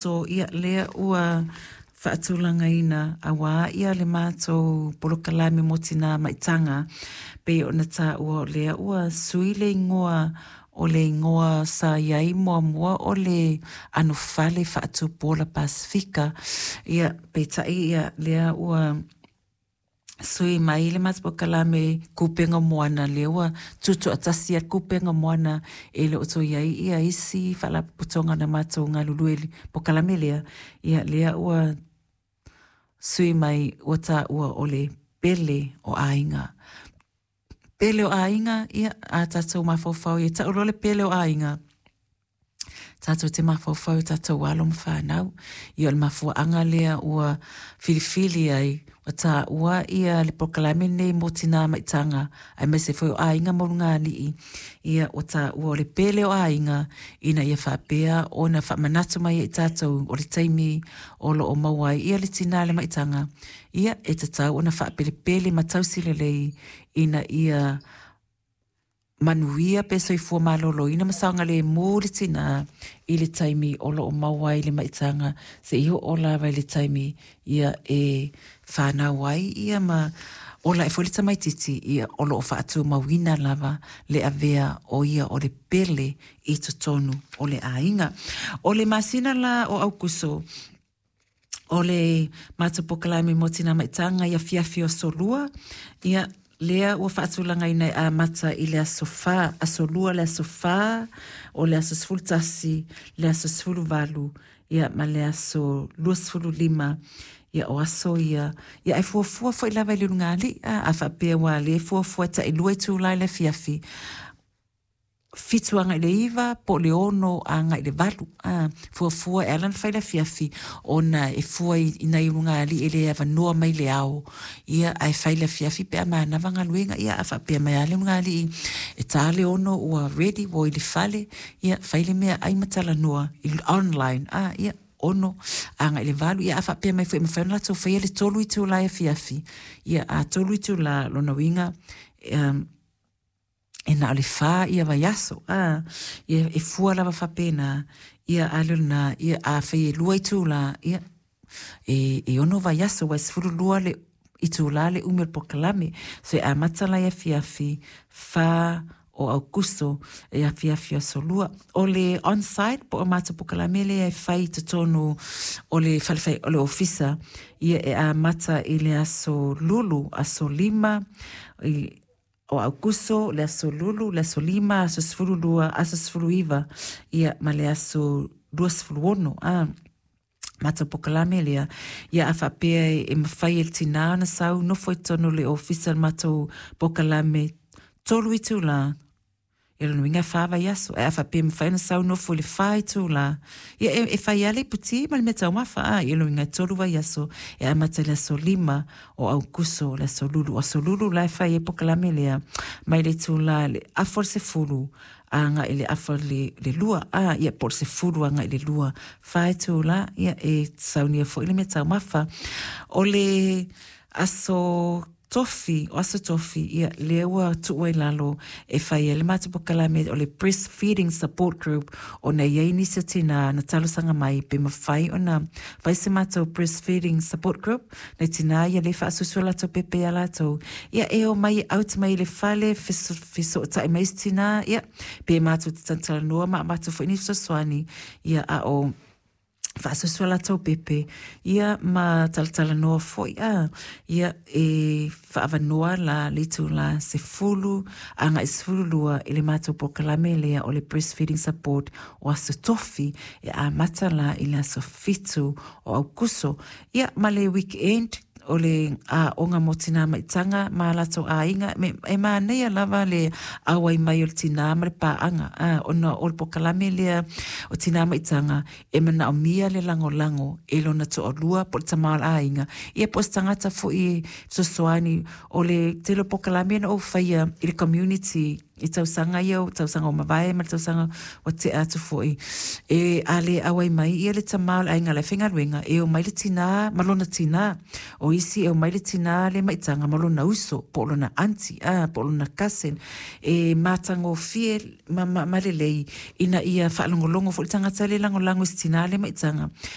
So ia lea ua faatulagaina auā ia le matou polokalame mo Tinā Maitaga, pei ona taua o lea ua sui le igoa o le igoa sa i ai muamua o le anofale faatupu ola Pasefika. Ia, peitai ia lea ua sui mai le matou polokalame Kupenga Moana, lea ua tutoatasi ai le Kupenga Moana, e le o toe i ai ia isi faalapotopotoga na matou galulue i le polokalame lea. Ia lea ua sui mai ua taua o le Pele o Aiga. Pele o Aiga, ia a tatou mafaufau ia tau loa le Pele o Aiga, tatou te mafaufau i tatou alo ma fanau. Ia o le mafuaaga lea ua filifili ai, ua taua ia le polokalame lenei mo tinā maitaga, aemaise foi o aiga ma ulugalii, ia ua taua o le pele o aiga, ina ia faapea ona faamanatu mai ai i tatou o le taimi o lo o maua ai ia le tinā le maitaga, ia e tatau ona faapelepele ma tausi lelei ina ia manuia pe soifua maloloina ma saogalemu le tinā i le taimi o lo o maua ai le maitaga seia oo lava i le taimi ia e fanau ai ia ma ola ae foi le tamaitiiti, ia o lo o faatumauina lava le avea o ia o le pele i totonu o le aiga. O le masina la o Aukuso, o le matou polokalame mo Tinā Maitaga i afiafi o aso Lua, ia lea ua faatulagaina e amata i le aso 4, aso Lua le aso 4, o le aso 11, le aso 18, ia ma le aso 25, ia o aso ia, ia ae fuafua foi lava i le ulugalii, a faapea ua le fuafua e tailua itula i le afiafi, 7 agai i le 9 po o le 6 agai i le 8, a fuafua e ala ona fai le afiafi ona e fua i nai ulugalii e le avanoa mai le ao, ia ae fai le afiafi pe a manava galuega. Ia a faapea mai lava le ulugalii e ta le 6 ua ready, ua i le fale, ia fai le mea ai ma talanoa i online, a ia 6 agai i le 8. Ia a faapea mai foi e mafai ona latou faia le 3 itula afiafi, ia a 3 itula, lona uiga e na o le 4 ia vaiaso, a ia e fua lava faapena. Ia a le o lena, ia a fai e 2 itula, ia e 6 vaiaso, ua e 12 le itula le umi o le polokalame. So e amata la i afiafi 4 o Aukuso e afiafi aso Lua. O le on-site po o matou polokalame lea e fai i totonu o le fale o le ofisa, ia e amata i le aso Lulu, aso 5 o Aukuso, le aso Lulu, le aso 5, aso 12, aso 19, ia ma le aso 26, a matou polokalame lea. Ia a faapea e mafai e le tinā ona sau nofo i totonu o le ofisa le matou polokalame 3 itula, e lona uiga e 4 vaiaso. Ae a faapea e mafai ona sau nofo i le 4 itula, ia e fai lava le iputi ma le mea taumafa, a ia lona uiga e 3 vaiaso, e amata i le aso 5 o Aukuso, le aso Lulu. Aso Lulu la e fai ai polokalame lea mai le itula le 9:30 agai i le 1:30, a ia po o le 10 agai i le 2, 4 itula, ia e saunia foi le mea taumafa. O le aso Tofi, o aso Tofi, ia lea ua tuu ai lalo e fai ai le matou polokalame o le Breastfeeding Support Group, ona e i ai nisi o tinā na talosaga mai pe mafai ona fai se matou Breastfeeding Support Group nai tinā ia le faasusu latou pepe iā latou, ia e o mai out mai i le fale fesootai mai isi tinā, ia pe matou te talatalanoa ma matou foi ni fesoasoani, ia a o faasusu latou pepe, ia ma talatalanoa foi, a ia e faaavanoa la le itula 10 agai 12 i le matou polokalame lea o le Breastfeeding Support o aso Tofi, e amata la i le aso 7 o Aukuso. Ia ma le weekend o le aoga mo tinā maitaga ma latou aiga, e manaia lava le auai mai o le tinā ma le paaga, a ona o le polokalame lea o tinā maitaga e manaomia le lagolago e lona toalua po o le tama o le aiga, ia po o se tagata foi e fesoasoani. O le tele o polokalame na ou faia i le community i tausaga ia, o tausaga ua mavae ma le tausaga ua tea atu foi, e a le auai mai ia le tama o le aiga la e faigaluega, e omai le tinā ma lona tinā. O isi e omai le tinā le maitaga ma lona uso po o lona aunty, a po o lona cousin, e matagofie ma lelei ina ia faalogologo foi le tagata le lagolago i se tinā le maitaga.